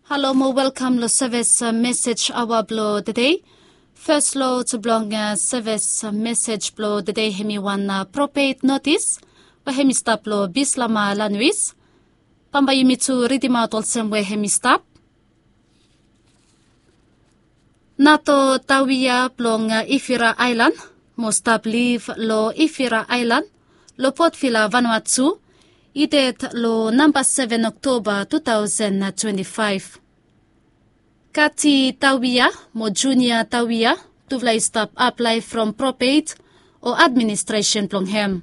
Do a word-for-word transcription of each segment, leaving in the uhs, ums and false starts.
Halo mo welkam lo sevis mesej aoa blo tede. Fes lo blong sevis mesej blo tede hemi wan propet notis we hemi stap lo Bislama lanwis. Bambae yumi tu ridimaot olsem we hemi stap. Nato Tawia blong Ifira Aelan mo stap liv lo Ifira Aelan lo Potvila, Vanuatu, i ded lo namba seven Oktoba two thousand twenty-five. Kati Tawia mo Junia Tawia, tufala i stap aplae from propet o administresen blong hem.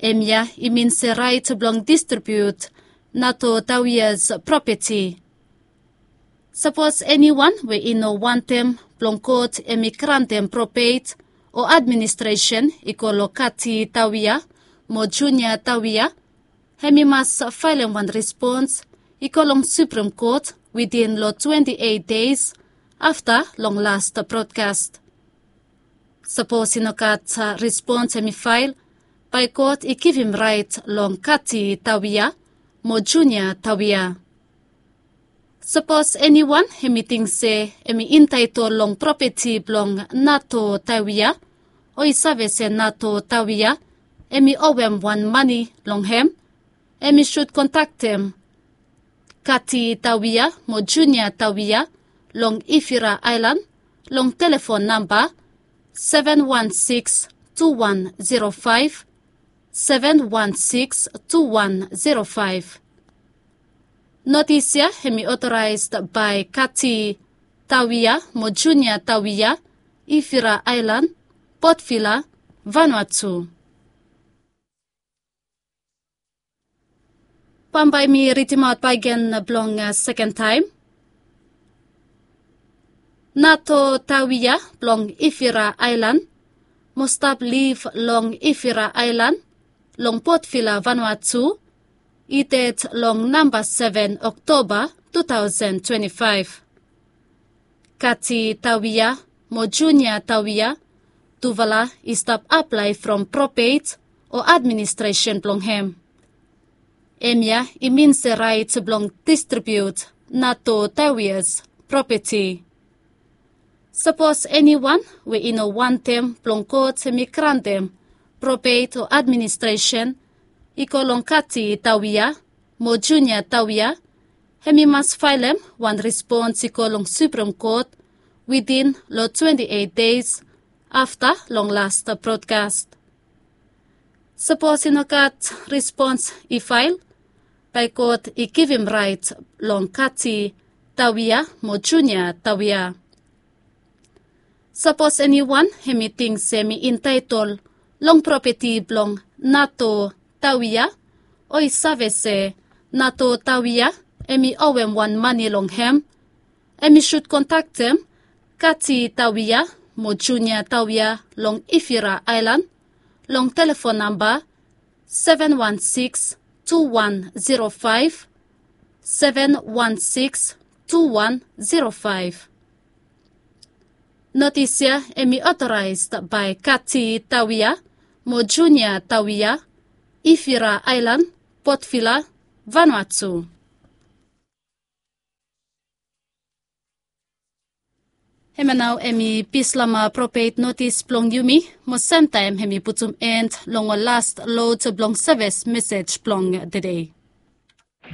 Hemia i min se raet blong distribiut Nato Tawias propeti. Sapos eniwan we i no wantem blong kot hemi grantem propet o administresen i go lo Kati Tawia mo Junia Tawia, hemi mas faelem wan respons i go long Suprem Kot witin lo twenti eit deis afta long las brodkas. Sapos i no gat respons hemi fael, bae kot i givim raet long Kati Tawia mo Junia Tawia. Sapos eniwan hemi ting se hemi entaetol long propeti blong Nato Tawia, o i save se Nato Tawia hemi owem wan mane long hem, hemi sud kontaktem Kati Tawia mo Junia Tawia long Ifira Aelan long telefon namba seven one six two one zero five, seven one six two one zero five. Notis ya hemi otoraes bae Kati Tawia mo Junia Tawia, Ifira Aelan, Potvila, Vanuatu. Bambae mi ridimaot bakegen blong seken taem. Nato Tawia blong Ifira Aelan mo stap liv long Ifira Aelan long Potvila, Vanuatu, i ded long namba seven Oktoba two thousand twenty-five. Kati Tawia mo Junia Tawia, tufala i stap aplae from propet o administresen blong hem. Hemia i min se raet blong distribiut Nato Tawias propeti. Sapos eniwan we i no wantem blong kot hemi grantem propet o administresen i go long Kati Tawia mo Junia Tawia, hemi mas faelem wan respons i go long Suprem Kot witin lo twenti eit deis afta long las brodkas. Sapos i no gat respons i fael, bae kot i givim raet long Kati Tawia mo Junia Tawia. Sapos eniwan hemi ting se hemi entaetol long propeti blong Nato Tawia, o i save se Nato Tawia hemi owem wan mane long hem, hemi sud kontaktem Kati Tawia mo Junia Tawia long Ifira Aelan long telefon namba seven one six two one zero five, seven one six two one zero five. Notis ya hemi otoraes bae Kati Tawia mo Junia Tawia, Ifira Aelan, Potvila, Vanuatu. Hemia nao hemi Bislama propet notis blong yumi, mo semtaem hemi putum en long ol las lod blong sevis mesej blong tede.